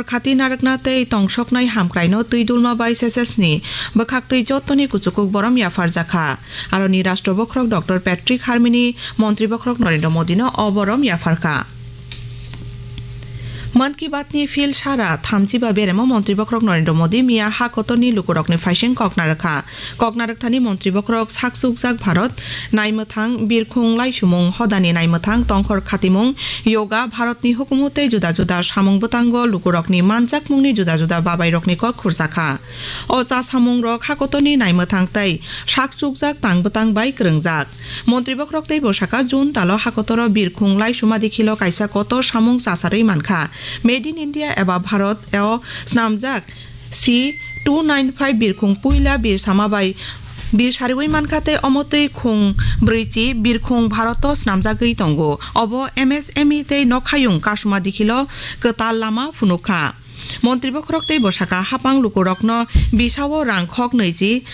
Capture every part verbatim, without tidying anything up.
Khati narwkna tei tongsoknai hamkraino twi dulma bai S S S ni bwkhaktwi jottoni kuchukuk borom yapharjakha. Aroni Rashtra Bokhorok Doctor Patrick Harmini Montri Bokhorok Narendra Modino o borom yapharkha. Mann Ki Baat ni phil sara thamchiba beremo Montri Bokhorok Narendra Modi miya ha kotorni lukurokni phaising kok narwkha. Kok narwkthani Montri Bokhorok sak chukjak Bharat naimwthang, birkhung laisumung, hodani naimwthang, tongkhor khatimung, yoga, Bharatni hukumu tei juda juda samung bwtango lukurokni manjakmungni juda juda babairokni kok khurjakha. O cha samungrok hakotorni naimwthang tei sak chukjak tang bwtang bai kwrwngjak. Montri Bokhorok tei bwsaka June talo hakotoro birkhung laisuma dikhilo kaisa kotor samung chasarwi mankha. Made in India eba Bharat o snamjak C two nine five birkhung puila birsama bai bir sariwi mankha tei omo twi khung brwichi birkhung Bharoto snamjagwi tongo. Obo M S M E tei nokhayung kasuma dikhilo kwtal lama phunukha. Montri Bokhorok tei bwsaka hapang lukurokno bisao rang khok nwichi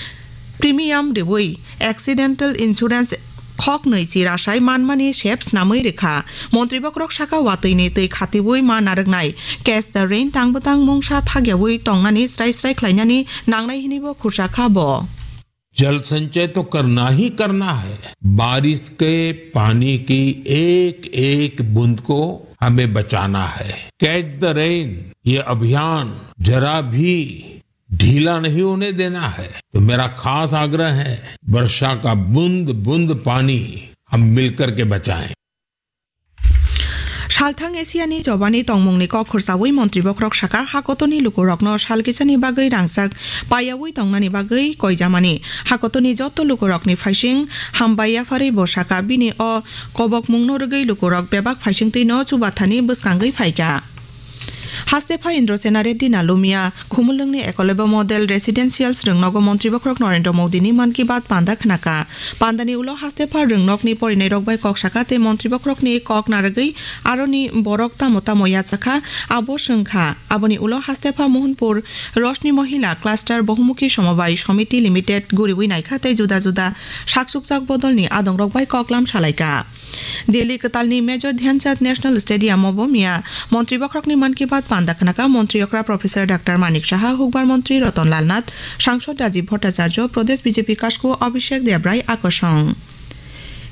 premium riwi accidental insurance khok nwichi rasai manmani sep snamwi rwkha. Montri Bokhorok saka watwini twi khatiwi ma narwknai Catch the Rain tang bwtang mungsa thagyawi tongnani srai srai khlainani nangnai hinibo khursa kha bo. जल संचय तो करना ही करना है। बारिश के पानी की एक एक बूंद को हमें बचाना है। कैच द रेन, ये अभियान जरा भी ढीला नहीं होने देना है। तो मेरा खास आग्रह है, वर्षा का बूंद बूंद पानी हम मिलकर के बचाएं। Salthang Asiani jobani tongmungni kok khursawi Montri Bokhorok saka, hakotorni lukurokno salkisani bagwi rangchak payawi tongnani bagwi koijamani. Hakotorni joto lukurokni phaising hambai yapharwi bo saka, bini o kobokmungno rwgwi lukurok bebak phaisingtwino chubathani bwskangwi phaikha. Hastepha Indrasena Reddy Nalumia, Khumulwngni Ekolobya Model Residential swrwngnogo Montri Bokhorok Narendra Modini Mann Ki Baat panda khnakha. Pandani ulo hastepha rwngnokni porinairok bai kok saka tei Montri Bokhorokni kok narwgwi aroni borok tamo tamo yachakha, abo swngkha. Aboni ulo hastepha Mohanpur Roshni Mohila Cluster Bohumukhi Somobai Somiti Limited guriwi naikha tei juda juda saksukjak bodolni adongrok bai koklam salaikha. Delhi kwtalni Major Dhyanchand National Stadium o bo miya Montri Bokhorokni Mann Ki Baat panda khnakha Montri okra Professor Doctor Manik Saha, Hukbar Montri Ratan Lal Nath, Sangsod Rajiv Bhattacharya, Pradesh B J P kasku Abhishek Debrai akosong.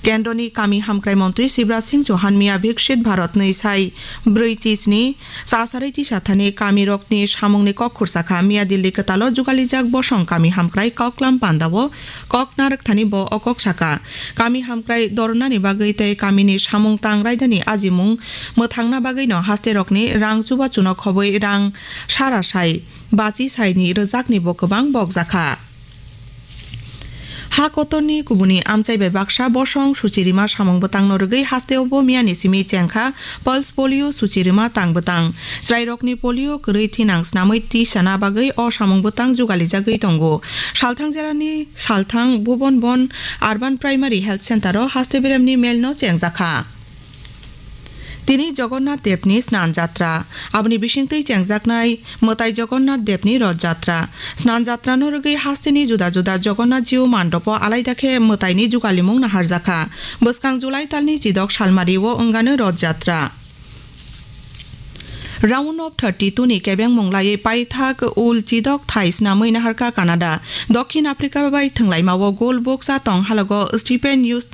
Kendroni Kami Hamkrai Montri Shivraj Singh Chauhan miya Viksit Bharat nwi sai brwi chisni Chasarwi tisa thani kamirokni samungni kok khursa kha. Miya Delhi kwtalo jugalijak bosong kami hamkrai koklam pandao kok narwk thani bo o kok saka. Kami hamkrai dornani bagwi tei kamini samung tang raidani ajimung mwthangna bagwino hasterokni rang chubachuno khobwi rang sara sai bachi saini rwjakni bo kwbang bokjakha. Ha kotorni kubuni amchai bai baksa bosong suchirima samung bwtangno rwgwi hasteo bo miyani simi chengkha pulse polio suchirima tang bwtang. Chwrairokni polio kwrwi thinang snamwi tisana bagwi o samung bwtang jugalijagwi tongo. Salthang jerani Salthang Bhuban Bon Urban Primary Health Center o haste beremni melno chengjakha. Tini Jagannath Devni Snan Jatra, aboni bisingtwi chengjaknai mwtai Jagannath Devni Roth Jatra. Snan Jatrano rwgwi hasteni juda juda Jagannath Jiu mandopo alaida khe mwtaini jugalimung naharjakha. Bwskang July talni chidok salmario wngano Roth Jatra. Round of thirty-two ni kebengmung laiwi paithak ul chidok thai snamwi naharkha Canada. Dokhin Africa bai thwnglaimao gol bukcha tong halogo Stephen Yus-,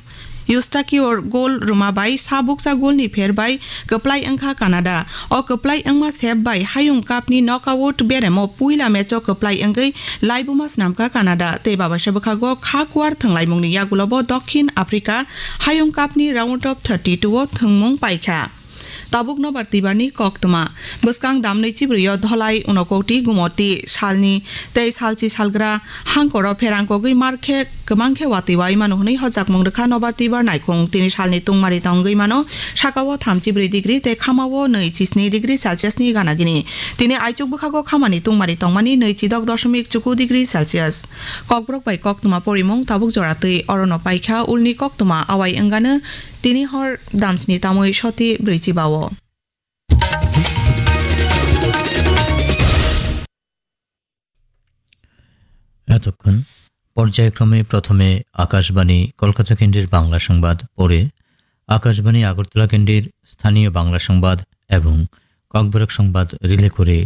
Eustachior gol rwma bai sa bukcha golni pher bai kwplai wngkha Canada. O kwplai wngma sep bai Hayung Cup ni knockout beremo puila match o kwplai wngwi laibuma snamkha Canada. Tei babaisa bwkhago kha kuar thwnglaimungni yagulobo Dokhin Africa Hayung Cup ni round of thirty-two o thwngmung paikha. Tabuk nobar twibarni koktwma. Bwskang damnwi chibrwio Dholai, Unakoti, Gumoti salni tei salchi salgra hangkoro pherang kogwi mar khe kwbang khe watwi wai mano hwnwi hojakmung rwkha nobar twibar naikhung. Tini salni tungmari tongwi mano, sakao thamchi brwi degree tei khamao nwi chisni degree Celsius ni gana gini. Tini aichuk bwkhago khamani tungmari tongmani nwi chidok doshomik chuku degree Celsius. Kokborok bai koktwma porimung tabuk jora twi orono paikha, ulni koktwma awai wngano tini hor damsni tamwi soti brwi chibao. এতক্ষণ পর্যায়ক্রমে প্রথমে আকাশবাণী কলকাতা কেন্দ্রের বাংলা সংবাদ, পরে আকাশবাণী আগরতলা কেন্দ্রের স্থানীয় বাংলা সংবাদ এবং Kokborok Songbad Rwlaikuri.